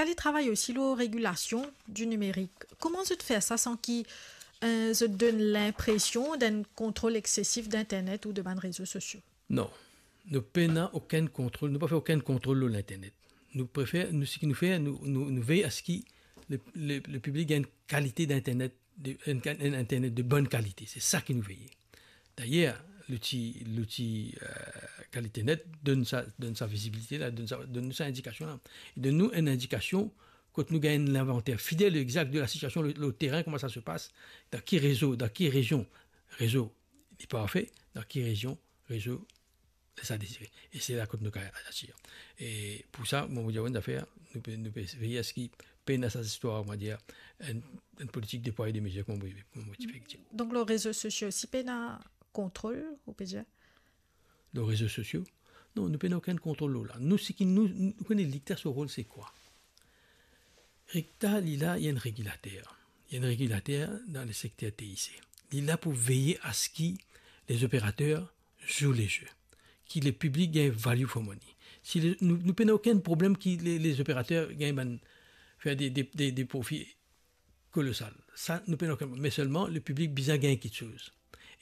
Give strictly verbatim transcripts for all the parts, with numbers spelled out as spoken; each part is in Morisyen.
ale travay osi lor regilasion di nimerik. Kouma zot fer sa san ki, eh, zot donn linpresion d'enn kontrol eksesif d'internet ou de bann rezo sosio? Non, nou pena okenn kontrol, nou pa fer okenn kontrol lor linternet. Nou prefer, nou, seki nou fer, nou, nou, nou vey aski le, le, le piblik gagn kalite d'internet, de, enn, enn internet de bonn kalite. Se sa ki nou veye. Dayer, louti, louti, eh, Kalitenet donn sa, donn sa vizibilite la, donn sa, donn nou sa indikasion la. Li donn nou enn indikasion kot nou gagn enn linvanter fidel e exak de la sitiasion lor, lor terin, kouma sa se pas, dan ki rezo, dan ki rezion, rezo li parfe, dan ki rezion, rezo les a dezire. E se la kot nou kapav azir. E pou sa, mo pou dir enn zafer, nou pe, nou pe veye aski pena sa zistwar, on va dir, enn, enn politik de pwa e de mezir, kouma mo, kouma mo ti pe dir. Donk, lor rezo sosio osi pena kontrol, ou pe dir? Lor rezo sosio? Non, nou pena okenn kontrol lor la. Nou, seki nou, nou kone LICTA, so rol se kwa? LICTA, li la, li enn regilater. Li enn regilater dan le sekter T I C. Li la pou veye aski lezoperater zwe le ze, ki le piblik gagn value for money. Si le, nou, nou pena okenn problem ki le, lezoperater gagn bann, fer de, de, de, de profi kolosal. Sa, nou pena okenn, me selman le piblik bizin gagn kiksoz.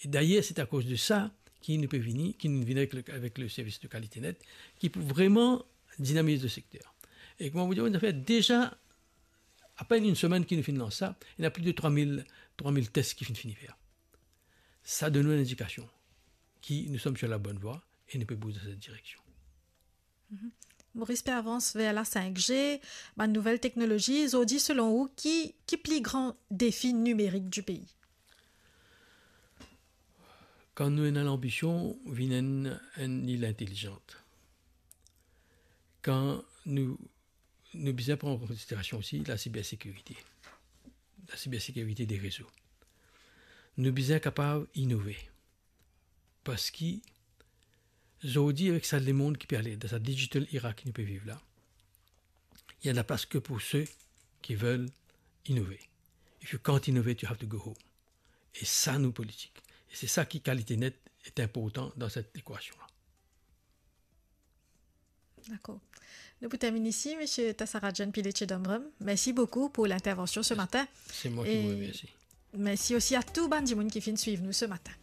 E dayer, se akoz de sa ki nou pe vini, ki nou vini avek le, avek le servis de Kalitenet, ki pou vreman dinamiz le sekter. E kouma mo dir, nou fer deza, apenn enn semenn ki nou finn lans sa, ena plis de trwa mil, trwa mil tes ki finn fini fer. Sa donn nou enn indikasion ki nou som sur la bonne voie e nou pe bouz dan set direksion. Moris pe avans ver la cinq G, bann nouvel teknolozi. Zordi, selon ou, ki, ki pli gran defi nimerik di pei? Kan nou ena lanbision vinn enn, enn il intelizan, kan nou, nou bizin pran an konsiderasion osi la sibersekirite, la sibersekirite de rezo. Nou bizin kapav inove. Parski zordi, avek sa lemond ki pe ale, dan sa digital era ki nou pe viv la, il y a de la place que pour ceux qui veulent innover. If you can't innovate, you have to go home. E sa nou politik. E se sa ki Kalitenet est important dans cette équation-là. Dakor. Nou pou terminn isi, Misie Tasarajan Pillay Chidambaram. Mersi boukou pou lintervansion se matin. Se mwa ki vous remercie. Mersi osi a tou bann dimoun ki finn swiv nou se matin.